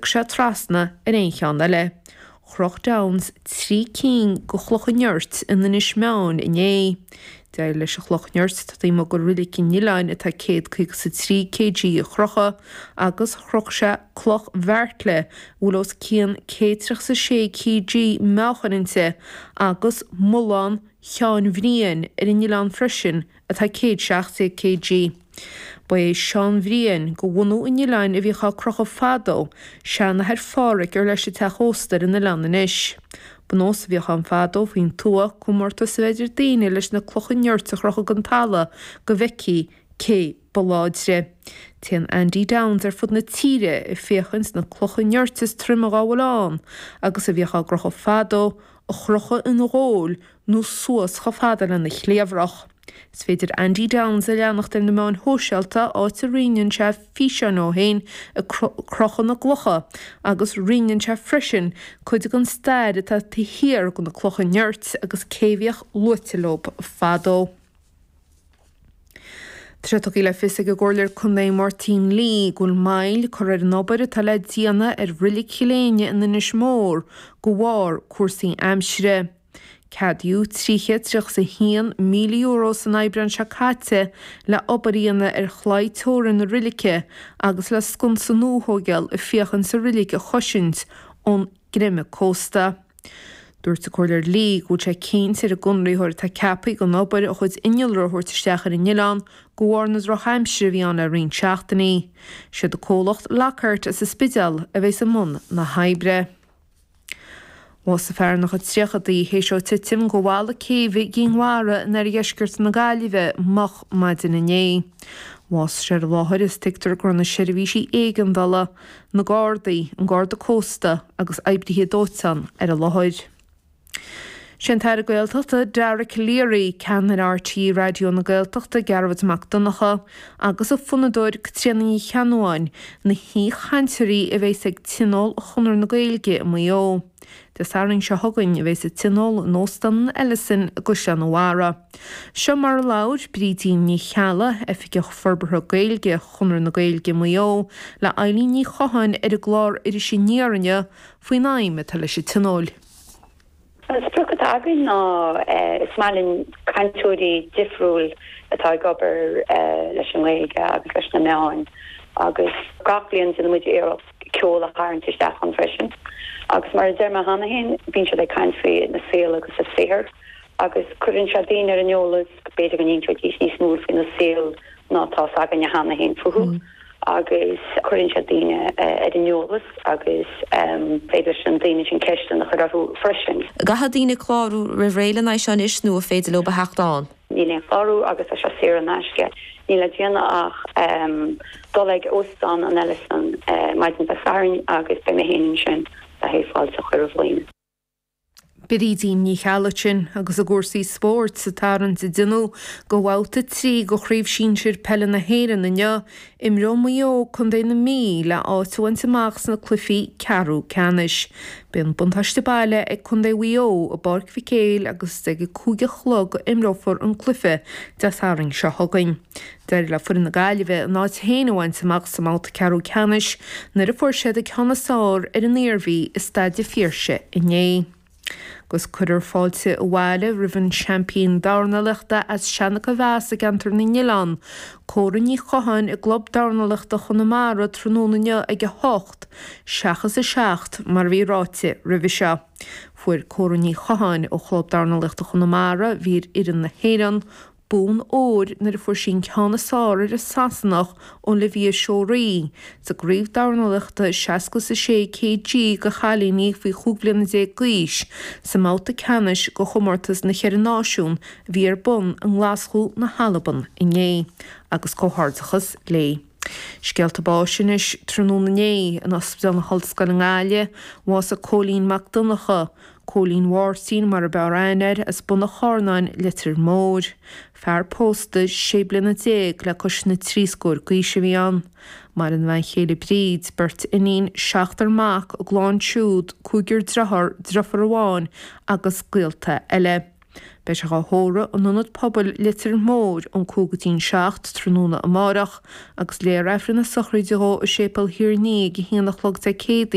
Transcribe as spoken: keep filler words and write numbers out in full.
thiocfadh sé trasna ar aon cheann eile. Chroch Downes trí cinn de chlocha nirt in Inis Meáin inné. D'éirigh leis an chloch nirt atá taobh amuigh de Reilig an Oileáin atá céad caoga is a trí kg a chrochadh agus chroch sé cloch bheairtle a bhfuil os cionn céad tríocha is a sé kg meáchain inti agus mullán Sheáin Bhriain ar an oileán freisin atá céad seacht déag kg. Ba é Seán Bhriain de bhunadh an oileáin a bhíodh á crochadh fadó, seanathair Pháraic ar leis an teach ósta ar an oileán anois. Ba nós a bhíodh ann fadó faoin tuath comórtas a bheith idir daoine leis na clocha nirt a chrochadh den talamh go bhfeicfí cé ba láidre. Téann Andy Downes ar fud na tíre ag féachaint na clocha nirt is troime dá bhfuil ann agus a bhíodh á gcrochadh fadó a chrochadh ina gholl nó suas chomh fada lena chliabhrach. Is féidir Andy Downes a leanacht ar na meáin shóisialta áit a roinneann sé físeáin ó féin ag crochadh na gclocha agus roinneann sé freisin cuid den stair atá taobh thiar de na clocha nirt agus cé a bhíodh luaite leo fadó. Tá sé tugtha le fios ag an gComhairleoir Contae Máirtín Lee go bhfuil moill curtha ar an obair atá le déanamh ar Reilig Chill Éinne in Inis Mór de bharr cúrsaí aimsire. Ceadaíodh trí chéad tríocha is a haon míle euro san Aibreán seo caite le obair a dhéanamh ar chlaí teorann na roilice agus le sconsa nua a thógáil ag féachaint an reilig a chosaint ón gcreimeadh cósta. Dúirt an Comhairleoir Lee go bhfuil sé cinnte ar an gconraitheoir atá ceaptha don obair a chuid innealra a thabhairt isteach ar an oileán de bharr na drochaimsire a bhí ann le roinnt seachtainí. Siad an comhlacht Lockhart as an Spidéal a bheas i mbun na hoibre. Bhásaigh fear ina chuid tríochadaí théis dó titim de bhalla céibhe i gCinn Mhara in oirdheisceart na Gaillimhe moch maidin inné. Bhásaigh sé ar an láthair is tuigtear go raibh na seirbhísí éigeandála, na Gardaí, an Garda Cósta agus oibrithe dóiteáin ar an láthair. Sé an tAire Gaeltachta Dara Calleary, ceannaire RTÉ Raidió na Gaeltachta Gearóid Mac Donncha agus an fonnadóir Caitríona Ní Cheannabháin na haoichainteoirí a bheas ag Tionól Chonradh na Gaeilge i Maigh Eo. Dé Sathairn seo chugainn a bheas an Tionól in Óstán an Ellison i gCaisleán an Bharraigh. Seo mar a labhair Brídín Ní Cheallaigh, Oifigeach Forbartha Gaeilge Chonradh na Gaeilge Maigh Eo, le Eilín Ní Chatháin ar an gclár Iris Aniar inniu faoin aidhm atá leis an Tionól. An sprioc atá againn ná is maith linn cainteoirí difriúil atá ag obair leis an nGaeilge agus leis na meáin agus gach bliain déanann muid iarracht ceol a tharraingt isteach ann freisin. Agus mar a deir mé cheana féin, bíonn siad ag caint faoina saol agus a saothar agus cuireann sé daoine ar an eolas, b'fhéidir go n-inseoidís níos mó faoina saol ná atá 's againne cheana féin fúthu. Agus cuireann sé daoine ar an eolas agus féidir leis na daoine sin ceisteanna a chur orthu freisin. Caithfidh daoine clárú roimh ré lena aghaidh seo anois nó an féidir leo a theacht ann? Níl aon chlárú agus tá sé saor in aisce. Níl le déanamh ach dul ag Óstán an Ellison maidin Dé Sathairn agus beidh mé féin ansin le haghaidh fáilte a chur roimh dhaoine. Brídín Ní Cheallaigh sin agus i gcúrsaí spóirt sa tarraingt a déanadh do bhabhta trí de Chraobh Shinsir Peile na hÉireann inniu, imreoidh Maigh Eo Contae na Mí le áit a bhaint amach sna cluichí ceathrú ceannais. Beidh an buntáiste baile ag Contae Mhaigh Eo i bPáirc Mhic Éil agus ag a cúig a chlog a imreofar an cluiche Dé Sathairn seo chugainn. D'éirigh le foireann na Gaillimhe a n-áit féin a bhaint amach sa mbabhta ceathrú ceannais nuair a fuair siad an ceann is fearr ar an Iarmhí i Staid an Phiarsaigh inné. Agus cuirfear fáilte abhaile roimh an seaimpín dornálaíochta as Seancha Mheas i gCeantar na nOileán, Córa Ní Chatháin i gClub Dornálaíochta Chonamara tráthnóna inniu ag a hocht, seachas a seacht mar a bhí ráite roimhe seo. Fuair Córa Ní Chatháin ó Chlub Dornálaíochta Chonamara, a bhí ar fhoireann na hÉireann, bonn óir nuair a fuair sí an ceann is fearr ar an Sasanach Olivia Shorey sa gcraobh dornálaíochta seasca is a sé kg do chailíní faoi chúig bhliana déag d'aois sa mbabhta ceannais de chomórtas na Cheithre Náisiún a bhí ar bun i nGlaschú na hAlban inné. Agus comhghairdeachas léi. Scéalta báis anois tráthnóna inné in Ospidéal na hOllscoile i nGaillimh, bhásaigh Cóilín Mac Donncha, Cóilín Mháirtín mar ab fhearr aithne air, as Bun an Charnáin, Leitir Móir. Fear pósta sé bliana déag le cois na trí scór d'aois a bhí ann. Maireann a bhean chéile Bríd, beirt iníon, seachtar mac, a gclann siúd, cúigear dearthár, deirfiúr amháin agus gaolta eile. Beidh sé dhá thórramh in Ionad Pobail Leitir Móir ón cúig go dtí'n seacht tráthnóna amárach agus léifear Aifreann na sochraide dhó i Séipéal Thír an Fhia ag a haon a chlog Dé Céadaoin.